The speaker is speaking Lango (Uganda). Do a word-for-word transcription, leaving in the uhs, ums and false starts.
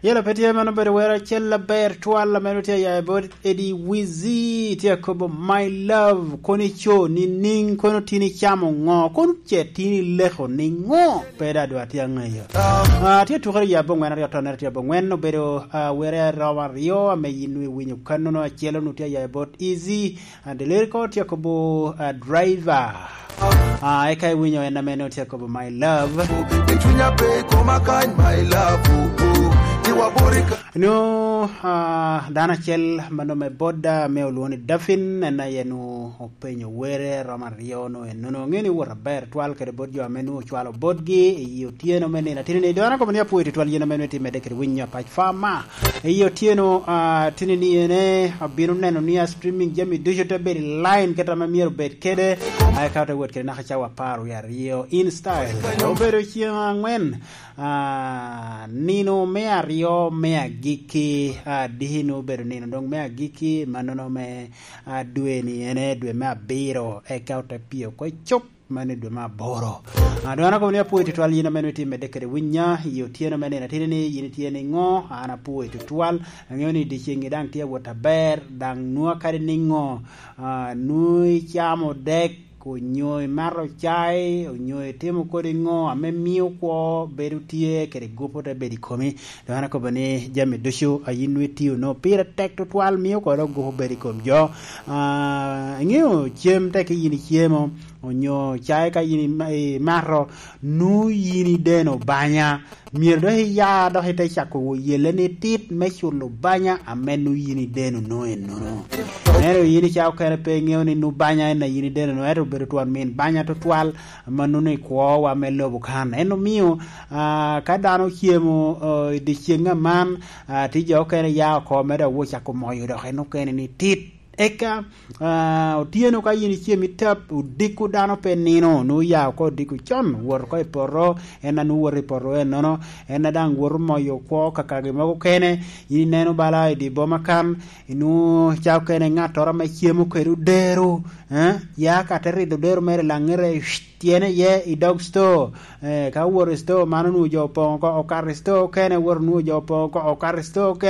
Yela pe tye mano bedo wero acel aber twal ame tye ya bot Eddie Wizzy, tye akobo, "My love, kono ico nining, kono tin icamo ngo, kono ce tin ileko ningo?" Pe da dwa tye angeyo. Ah, tye tukere ya bongwen aryo tonere tye bongwen obedo, ah, were aromo aryo ame yin iwinyo kanono, acel onu tye ya bot Easy, ah, Delirico tye akobo, ah, Driver. Ah, eka iwinyo en ame nongo tye akobo, "My love." I cunya pe koma kany, my love, oh, oh. Iwa bori ka- No, ah, dano acel ma nome boda me olwoŋo ni Dafin, en aye nu openyo were romo aryo no enono. Ŋe ni wot aber twal kede bot jo ame nu ocwalo botgi i otyeno me nino atini ni, dano akobo ni apwoyo tutwal yin ame nu itye medde kede winyo apac fama. I otyeno, ah, tini ni ene, abino neno ni a streaming jami ducu te bedo i line kit ame myero obed kede, ah, eka te wot kede naka cawa apar wie aryo in style. Obedo ceng angwen, ah, nino me aryo me agikki, ah, diki nu obedo nino dong me agikki, mannono me, ah, dwe ni ene dwe me abiro, eka ote pye oko i cuk. Man i dwe me aboro. Ah, dong an akobo ni apwoyo tutwal yin ame nongo itye medde kede winya i otyeno me nino atini ni yin itye niŋo, an apwoyo tutwal. Aŋeo ni dyeceŋ-ŋi daŋ tye awot aber, daŋ nwoŋo kadi niŋo, ah, nwoŋo icamo dek, onyo imato cai, onyo itimo kodi ŋo ame mio kwo bedo tye kede gupu te bedo i komi. Dong an akobo ni jami ducu a yin nwoŋo itio nwoŋo pire tek tutwal mio kwo dok gupu bedo i kom jo. Ah, iŋeo cem tek yin icemo, onyo cae ka yin ima-, imato, nu yin ideno banya, myero dok iya dok ite cako wo yelle ni tit me culo banya ame nu yin ideno no enono. Ento yin i cawa okene pe iŋeo ni nu banya en a yin ideno no, ento obedo twon min banya tutwal, ma nuno i kwowa me lobo kan. En omio, ah, ka dano ocemo, ah, i dyeceŋ aman, ah, tye jo okene ya oko me dok wo cako moyo dok en okene ni tit. Eka, ah, otyeno ka yin icem i tap, odiko dano pe nino, nwoŋo ya oko odiko con, wot oko i poto, en a nwoŋo woto i poto ennono, en a daŋ woto moyo kwo kakagi mogo kene, yin ineno bala i dye boma kan, inwoŋo ca okene ŋattoro ame cemo kede odero, eh, ya ka te ridho odero mere i laŋete, tyene iye i dog store, eh, ka owoto i store, man onwoŋo jo opoŋ oko, okato i store okene, owoto onwoŋo jo opoŋ oko, okato i store okene.